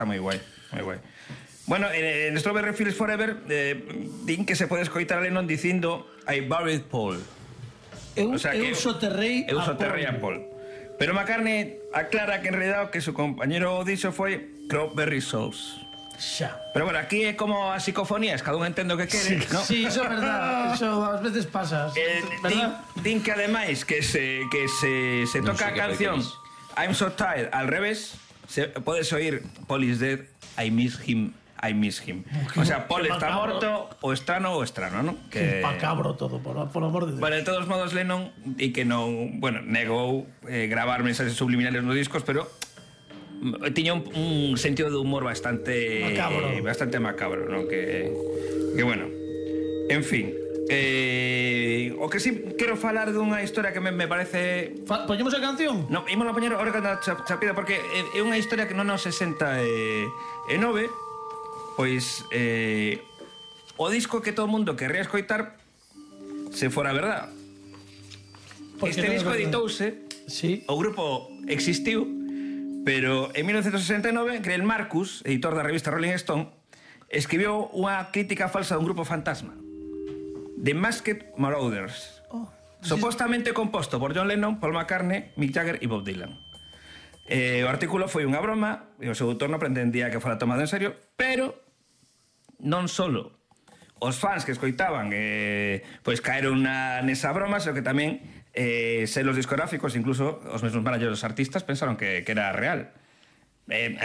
Está moi guai, moi guai. Bueno, en Strawberry Fields Forever din que se pode escoitar a Lennon dicindo I buried Paul. Eu soterrei a Paul. Pero McCartney aclara que en realidad que su compañero dicho foi Strawberry Souls. Xa. Pero bueno, aquí é como as psicofonías, cada un entende o que quere, ¿no? Sí, iso é verdad, iso ás veces pasas, verdad? Din que ademais que se toca a canción I'm So Tired al revés, podes oír Paul is dead, I miss him. O sea, Paul está morto, o estrano, ¿no? Que macabro todo, por amor de Dios. Bueno, de todos modos, Lennon, e que non, bueno, negou gravar mensaxes subliminales nos discos, pero tiña un sentido de humor bastante macabro, ¿no? Que bueno, en fin. O que sí quero falar dunha historia que me parece... Poñemos a canción? No, ímos a poñer ahora cando chapida, porque é unha historia que non nos 69, pois o disco que todo o mundo querría escoitar se fora verdad. Este disco editouse, sí. O grupo existiu, pero en 1969 Graham Marcus, editor da revista Rolling Stone, escribiu unha crítica falsa dun grupo fantasma, The Masked Marauders, supostamente composto por John Lennon, Paul McCartney, Mick Jagger e Bob Dylan. O artículo foi unha broma e o seu autor non pretendía que fora tomado en serio, pero non solo os fans que escoitaban pois caeron nesa broma, sino que tamén selos discográficos, incluso os mesmos managers dos artistas pensaron que era real.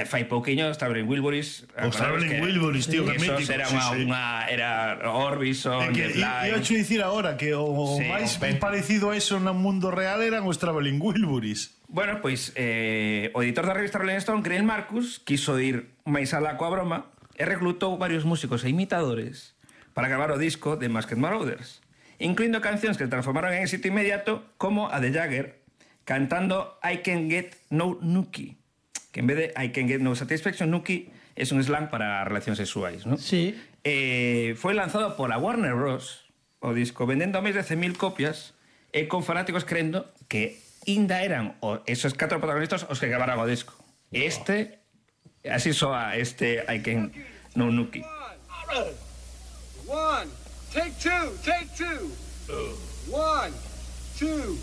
Fai pouquiño Traveling Wilburys, tío, que mítico. Era Orbison, Jet Li. Eu dicir agora que o máis parecido a eso no mundo real eran os Traveling Wilburys. Bueno, pois o editor da revista Rolling Stone, Graham Marcus, quiso ir máis alá coa broma e reclutou varios músicos e imitadores para gravar o disco de Masked Marauders, incluindo cancións que se transformaron en éxito inmediato, como a de Jagger cantando I Can Get No Nookie, que en vez de I Can Get No Satisfaction, Nookie es un slang para relacións sexuais, ¿no? Sí. Foi lanzado pola Warner Bros. O disco vendendo a máis de 100.000 copias e con fanáticos crendo que ainda eran esos 4 protagonistas os que gravaran o disco. Así soa I Can No Nookie. One, take two. 1, 2